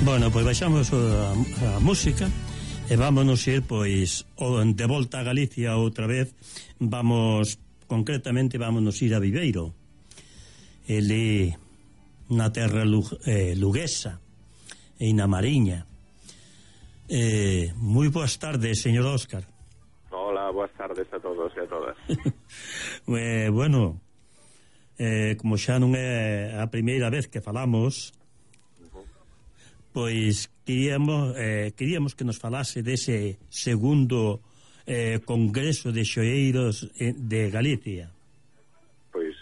Bueno, pois baixamos a música e vámonos ir, pois, de volta a Galicia outra vez. Concretamente, vámonos ir a Viveiro. Ele na terra luguesa e na Mariña. Moi boas tardes, señor Óscar. Hola, boas tardes a todos e a todas. Bueno, como xa non é a primeira vez que falamos, pois queríamos que nos falase dese segundo Congreso de Xoeiros de Galicia. Pois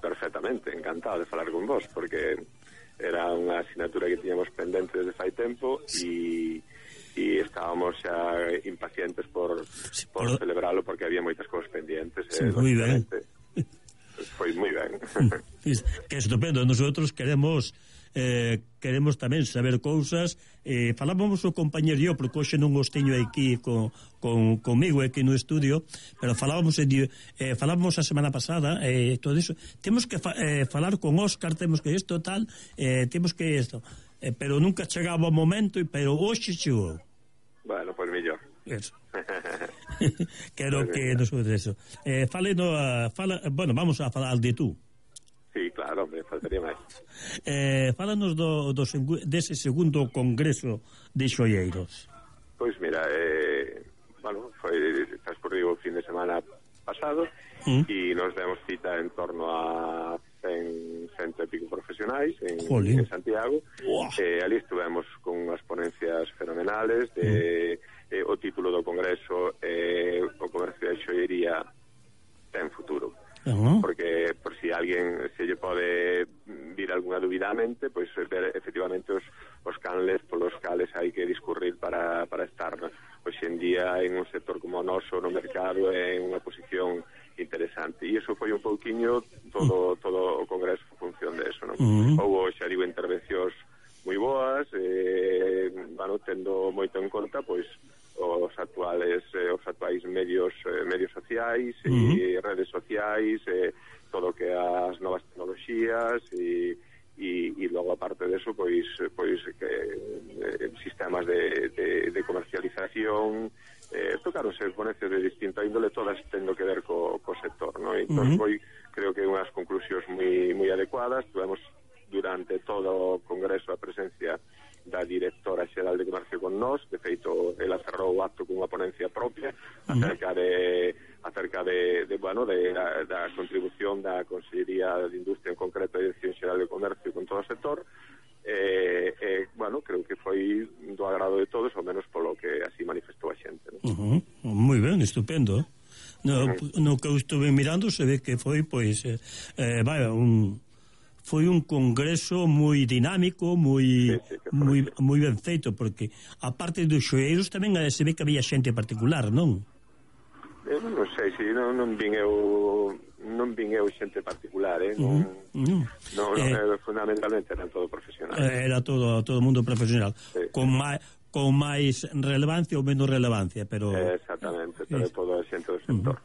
perfectamente, encantado de falar con vos, porque era unha asignatura que tiñamos pendente desde fai tempo e estábamos xa impacientes por celebralo, porque había moitas cousas pendientes. Moi ben. Foi moi ben. Que estupendo. Nosotros queremos tamén saber cousas. Falábamos o compañero yo, porque hoxe non os teño aquí comigo aquí no estudio, pero falábamos a semana pasada, todo iso. Temos que falar con Óscar, temos que isto tal, temos que isto, pero nunca chegaba o momento, pero hoxe chegou. Bueno, pois mellor. Eso. Quero que nos eso. Bueno, vamos a falar de tú. Sí, claro, me faltaría máis. Fálanos dese segundo Congreso de Xoeiros. Pois mira, foi transcurrido o fin de semana pasado e nos demos cita en torno a 100 e pico profesionais en Santiago. Ali estuvemos con unhas ponencias fenomenales de o título do Congreso, o comercio de xoiería ten futuro. Porque por si alguén se lle pode vir algunha dúbida á mente, pois ver efectivamente os canles polos cales hai que discurrir para estar hoxe en día en un sector como o noso no mercado, en unha posición interesante. E iso foi un pouquiño todo o Congreso en función de eso, non? Houve, xa digo, intervencións moi boas, tendo moito en conta pois os actuais medios sociais e redes sociais, todo o que as novas tecnoloxías e logo aparte deso pois que sistemas de comercialización, tocaronse ponencias de distinta índole, todas tendo que ver co sector, non? Entón creo que unhas conclusións moi adecuadas. Tuvemos durante todo o Congreso a presencia da directora xeral de Comercio con nós. De feito, ela cerrou o acto con unha ponencia propia acerca da contribución da Consellería de Industria, en concreto a Dirección Xeral de Comercio, con todo o sector. Creo que foi do agrado de todos, ao menos polo que así manifestou a xente, non? Moi ben, estupendo. No que eu estuve mirando se ve que foi, pois, foi un congreso moi dinámico, moi ben feito, porque a parte dos xoeiros tamén se ve que había xente particular, non? Non sei, se non vin eu xente particular, fundamentalmente eran todo profesional. Era todo mundo profesional, sí. Con máis relevancia ou menos relevancia, pero exactamente, pero todo a xente do sector.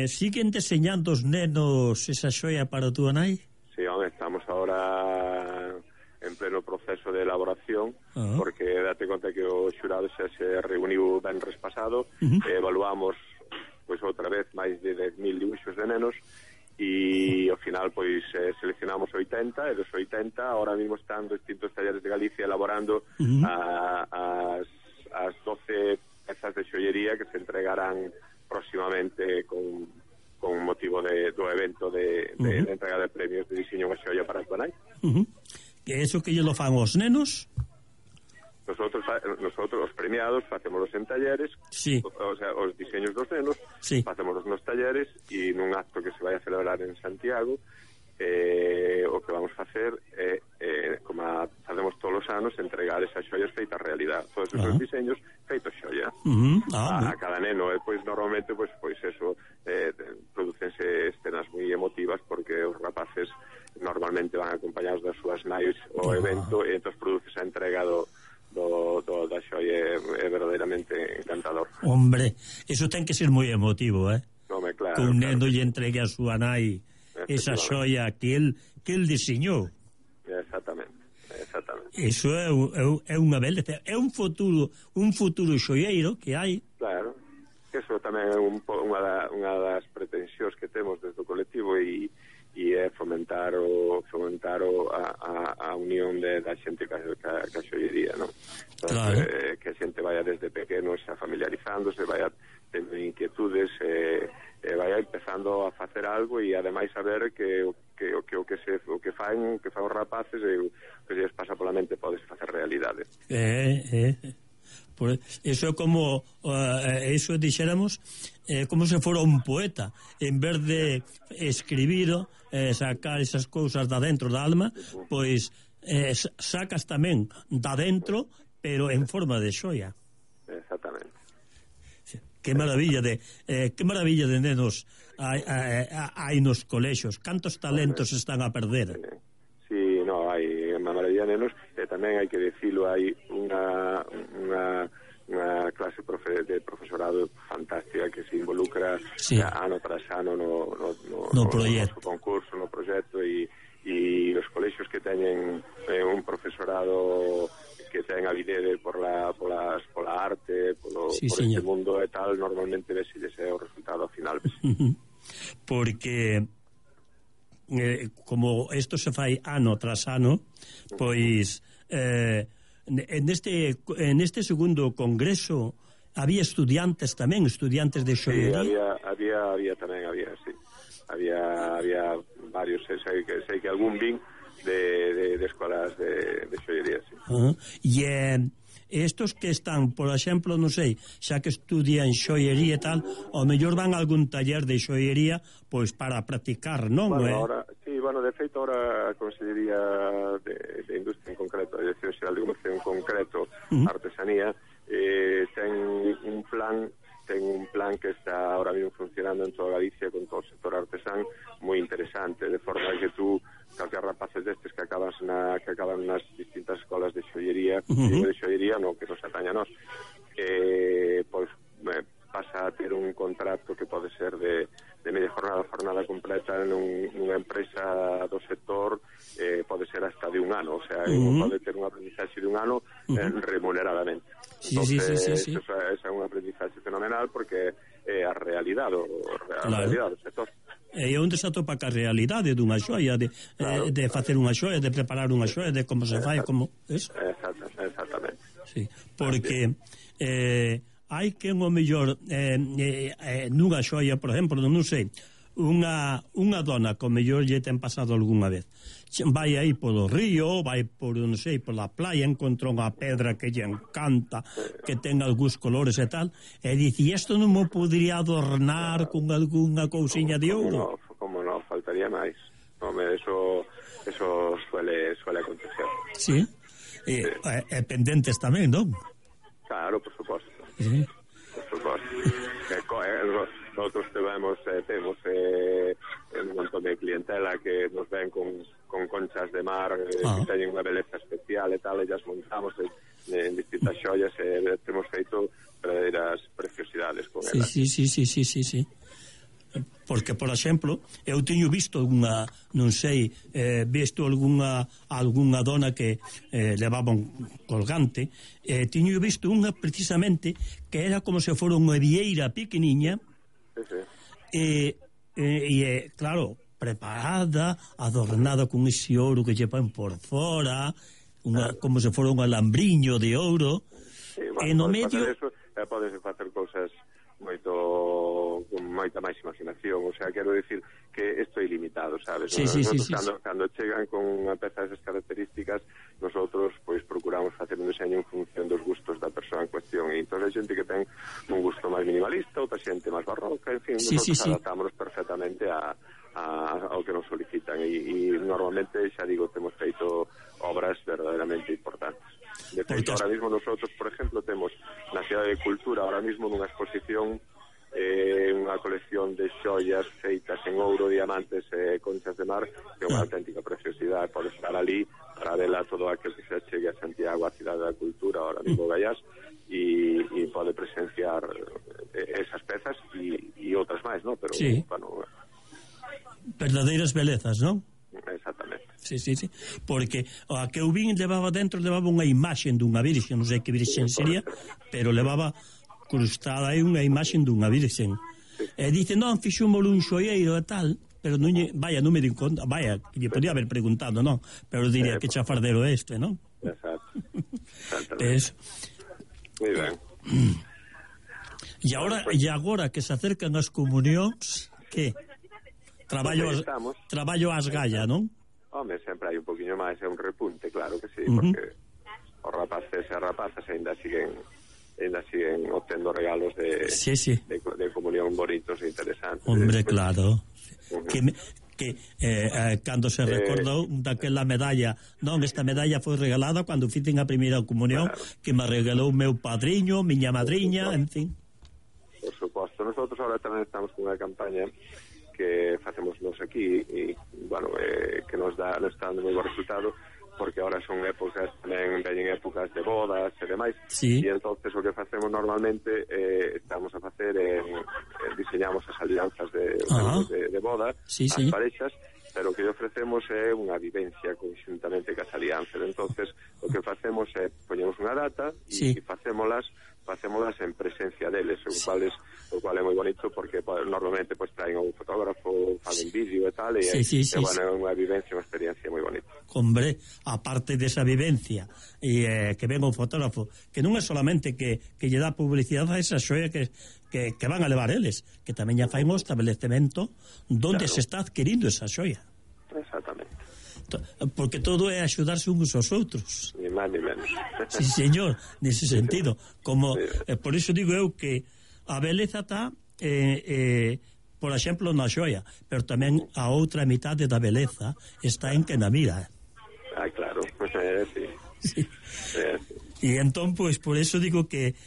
Siguen deseñando os nenos esa xoia para a túa nai? Sí, estamos ahora en pleno proceso de elaboración, porque date conta que o xurado xa se reuniu venres pasado, evaluamos pois outra vez máis de 10.000 dibuixos de nenos e ao final pois seleccionamos 80, e dos 80 ahora mismo están distintos talleres de Galicia elaborando as 12 pezas de xoiería que se entregarán próximamente con motivo do evento de entrega de premios de diseño unha xoia para a túa nai. Que eso que lle lo fan os nenos? Nosotros os premiados facemos en talleres, sí. O sea, os diseños dos nenos, sí. Facemos nos talleres e nun acto que se vai a celebrar en Santiago, o que vamos facer é, como facemos todos os anos, entregar esas xoias feitas realidad, todos esos diseños feitos xoia a cada neno. E pois normalmente pois eso, producense escenas moi emotivas, porque os rapaces normalmente van acompañados das súas nais ao evento, e entón produces a entrega da xoia. É verdadeiramente encantador. Hombre, eso ten que ser moi emotivo, claro, que un neno lle entregue a súa nai esa xoia que el diseñou. Exactamente. Iso é unha beleza, é un futuro xoieiro que hai. Claro, que eso tamén é unha das pretensións que temos desde o colectivo e é fomentar a unión da xente ca xoiería, non? Claro. Que a xente vaya desde pequeno xa familiarizándose, vaya tendo inquietudes, vaya empezando a facer algo e ademais saber que o que fan os rapaces e o que lles pasa pola mente pode facer realidade. Eso é como eso dixéramos como se fora un poeta, en vez de escribir, sacar esas cousas da dentro da alma, pois sacas tamén da dentro, pero en forma de xoia. Exactamente. Que maravilla de nenos hai nos colexios. Cantos talentos están a perder. Sí, no, hai unha maravilla de nenos, e tamén hai que decilo, hai unha clase de profesorado fantástica que se involucra ano tras ano no proxecto, no concurso, no proxecto, e os colexios que teñen un profesorado que ten avidez por la arte, por este mundo e tal, normalmente ves o resultado ao final. Porque como isto se fai ano tras ano, pois en este segundo congreso había estudiantes de xoiería. Sí, había varios, sei que algún vin de escolas de xoiería, sí. E estos que están, por exemplo, non sei, xa que estudian xoiería e tal, ao mellor van a algún taller de xoiería pois para practicar, non? De feito, ahora a Consellería de Industria en concreto, a Dirección Xeral de Comercio en concreto, Artesanía, ten un plan que está ahora mismo funcionando en toda Galicia con todo o sector artesán, moi interesante, de forma que tú, calquer rapaces destes que acaban nas distintas escolas de xoiería, no que nos ataña a nós, pois pasa a ter un contrato que pode ser de media jornada completa nunha empresa do sector, pode ser hasta de un ano, o sea, pode ter un aprendizaxe de un ano remuneradamente. Eso é un aprendizaxe fenomenal porque é a realidade do sector. E onde se atopa ca realidade dunha xoia, de facer unha xoia, de preparar unha xoia, de como se fai, como eso. Exactamente. Sí, porque hai que o mellor nunha xoia, por exemplo, non sei, unha dona que o mellor lle ten pasado algunha vez, vai aí polo río, vai por, non sei, pola playa, encontra unha pedra que lle encanta, que ten algúns colores e tal, e dice, isto non mo podría adornar con algunha cousiña de ouro? Como non, faltaría máis. Eso suele acontecer. Sí, e pendentes tamén, non? Claro, por suposto. Sí. Por suposto. Nosotros temos un montón de clientela que nos ven con conchas de mar que teñen unha beleza especial e tal, e as montamos en distintas xoias e temos feito verdadeiras preciosidades con elas. Sí. Porque, por exemplo, eu teño visto non sei, visto algunha dona que levaba un colgante, teño visto unha precisamente que era como se fora unha vieira pequeniña, e claro, preparada, adornada con ese ouro que lle pan por fora, como se fora un alambriño de ouro, e no medio podes facer cousas con moita máis imaginación, o sea, quero decir que isto é ilimitado, sabes? Cando chegan con unha peza desas características, nosotros pois procuramos facer un diseño en función dos gustos da persoa en cuestión, e entón hai xente que ten un gusto máis minimalista, outra xente máis barroca, en fin, nosotros adaptámonos perfectamente ao que nos solicitan, e normalmente, xa digo, temos feito obras verdadeiramente importantes. De feito, ahora mismo nosotros, por ejemplo, temos na Cidade de Cultura ahora mismo nunha exposición unha colección de xoias feitas en ouro, diamantes e conchas de mar, que é unha auténtica preciosidade. Pode estar ali para vela todo aquel que se chegue a Santiago, a Cidade da Cultura, ahora mismo Gaiás, e pode presenciar esas pezas e outras máis, non? Pero, sí. Verdadeiras belezas, non? Exactamente. Sí, porque a que eu vin levaba unha imaxe dunha virxe, non sei que virxe sería, pero levaba crustada aí unha imaxe dunha virxe. E dice, non, fixúmolo un xoieiro e tal, pero non me di conta, que lle podía haber preguntado, non? Pero diría que chafardero non? Exacto. Moi ben. E agora que se acercan as comunións, que traballo ás galla, non? Home, sempre hai un poquinho máis, é un repunte, claro que sí, porque os rapaces e as rapazas ainda siguen obtendo regalos de comunión bonitos e interesantes. Hombre, claro. Que cando se recordou daquela medalla, non, esta medalla foi regalada cando fixen a primeira comunión, que me regalou meu padriño, miña madriña, en fin. Por suposto, nosotros ahora tamén estamos con unha campaña que facemos nos aquí e, bueno, que nos está dando moi bo resultado, porque ahora son épocas, tamén veñen épocas de bodas e demais, e entonces o que facemos normalmente estamos a facer diseñamos as alianzas de boda as parexas, pero o que ofrecemos é unha vivencia conjuntamente cas alianzas. Entonces o que facemos é poñemos unha data e facémolas en presencia deles, o cual é moi bonito, porque normalmente traen un fotógrafo, fan un vídeo e tal, e bueno, é unha vivencia, unha experiencia moi bonita. Hombre, aparte desa vivencia que ven un fotógrafo, que non é solamente que lle dá publicidade a esa xoia que van a levar eles, que tamén ya fai un establecemento donde se está adquirindo esa xoia. Exactamente. Porque todo é axudarse uns aos outros. Ni máis ni menos. Sí, señor, nese sentido. Como por iso digo eu que a beleza está por exemplo na xoia, pero tamén a outra mitade da beleza está en que na mira. Claro, sí. E entón, pois, por eso digo que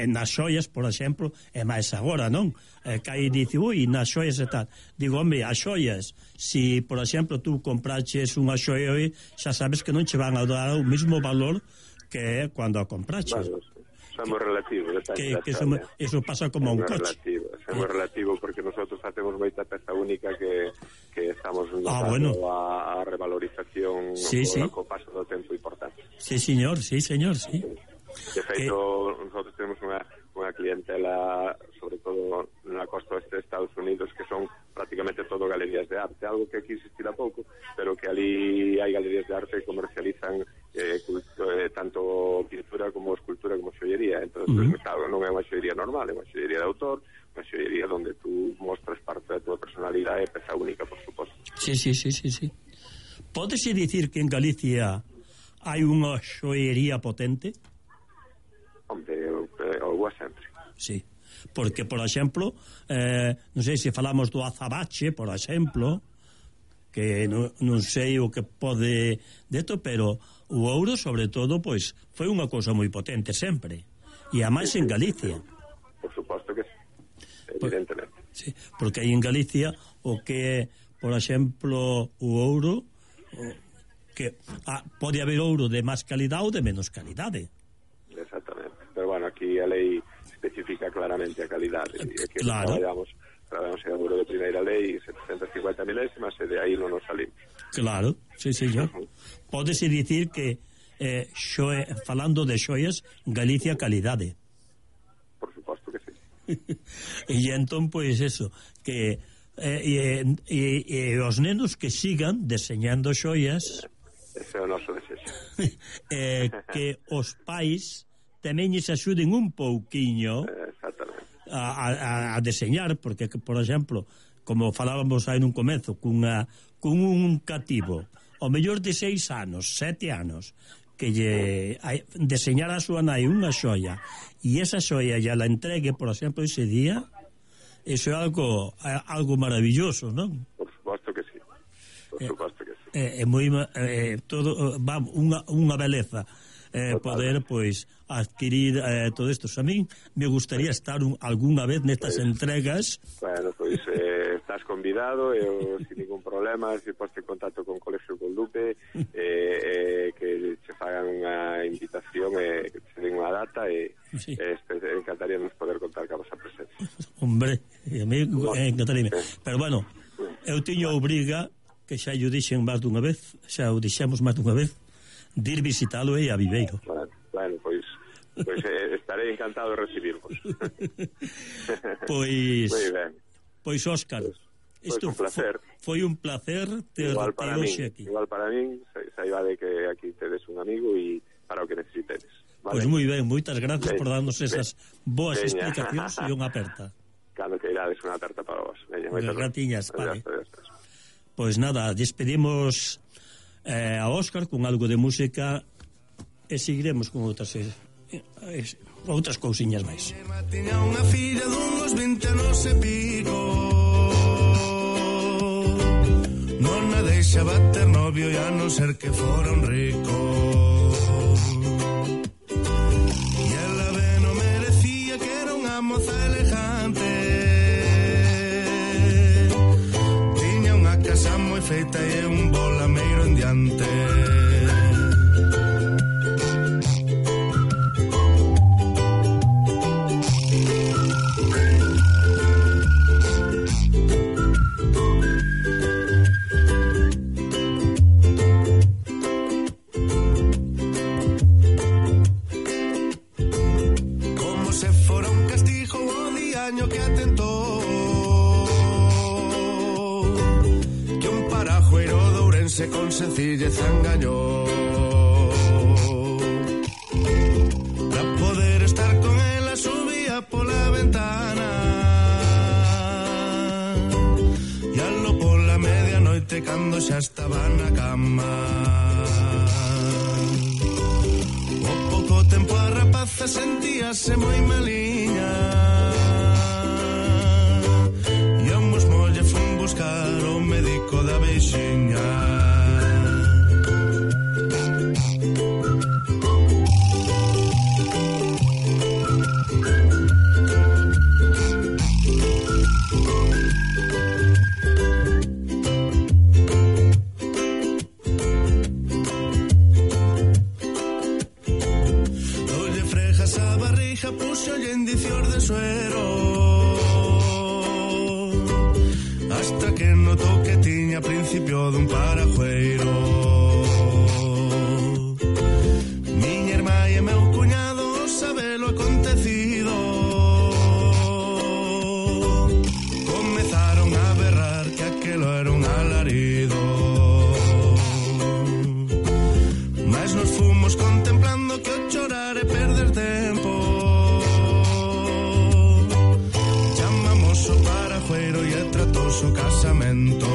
nas xoias, por exemplo, é máis agora, non? Que aí dice, nas xoias e tal. Digo, hombre, as xoias, si, por exemplo, tú compraches unha xoia hoy, xa sabes que non che van a dar o mismo valor que cando a compraches. Bueno, somos relativos. Eso pasa como un coche. Somos relativos porque nosotros facemos moita peza única que estamos notando a revalorización co paso do tempo importante. Sí, señor. De feito, nosotros tenemos unha clientela, sobre todo na costa oeste de Estados Unidos, que son prácticamente todo galerías de arte, algo que aquí existirá pouco, pero que ali hai galerías de arte que comercializan tanto pintura como escultura como xoiería. Entón, claro, non é unha xoiería normal, é unha xoiería de autor, unha xoiería onde tú mostras parte da tua personalidade e peza única, por suposto. Sí. Pódese dicir que en Galicia hai unha xoiería potente? Hombre, o sempre. Sí, porque, por exemplo, non sei se falamos do azabache, por exemplo, que non sei o que pode deto, pero o ouro, sobre todo, pois, foi unha cousa moi potente sempre, e a máis en Galicia. Por suposto que sí, evidentemente. Sí, porque aí en Galicia o que é, por exemplo, o ouro, que pode haber ouro de máis calidade ou de menos calidade. Exactamente, pero bueno, aquí a lei especifica claramente a calidade, e que traballamos en ouro de primeira lei, 750 milésimas, e de aí non nos salimos. Claro, sí, señor. Pódese dicir que falando de xoias, Galicia calidade. Por suposto que sí. E entón, pois eso, que os nenos que sigan deseñando xoias, ese é o noso desexo. Que os pais tamén se axuden un pouquiño a deseñar, porque, por exemplo, como falábamos aí nun comezo, cun un cativo ao mellor de 6 anos, 7 anos, que lle deseñar a súa nai unha xoia, e esa xoia ya la entregue, por exemplo, ese día, eso é algo maravilloso, non? Por suposto que sí. É moi todo va unha beleza poder, pois, adquirir todo isto. A mí me gustaría estar algunha vez nestas entregas. Bueno, pois estás convidado, sin ningún problema, se poste en contacto con Colegio Condupe, que se fagan unha invitación, que se den unha data, e encantaríamos poder contar ca vosa presencia. Hombre, a mí encantaría. Pero bueno, eu tiño obriga que xa o dixen máis dunha vez, xa o dixemos máis dunha vez, de ir visitalo a Viveiro. Bueno, pois estarei encantado de recibirvos. Pois moi ben. Pois Óscar, isto foi un placer ter hoxe aquí. Igual para min, saiba de que aquí tedes un amigo e para o que necesitedes. Vale? Pois moi ben, moitas gracias por darnos esas boas explicacións e unha aperta. Cando que irades unha aperta para vos. Moitas gratiñas, vale. Pois nada, despedimos a Óscar con algo de música e seguiremos con outras cousiñas máis. Tiña unha filla dunhos 20 anos e pico, non a deixaba ter novio e a non ser que fora un rico, e ela ben o merecía, que era unha moza elegante, tiña unha casa moi feita e un bolameiro en diante. Que atentou que un parajueiro de Ourense con sencillez engañou para poder estar con ela, subía pola ventana e alo pola medianoite cando xa estaba na cama. O pouco tempo a rapaza sentíase moi maliña, buscar o médico da veixiña. Dolle frejas a barriga, puxolle indicios de suero, hasta que notou que tiña principio dun parajueiro. Miña irmá e meu cuñado sabelo acontecido, comezaron a berrar que aquelo era un alarido, mas nos fomos contemplando que o chorar e perder tempo, chamamos o parajueiro e tratou o casamento.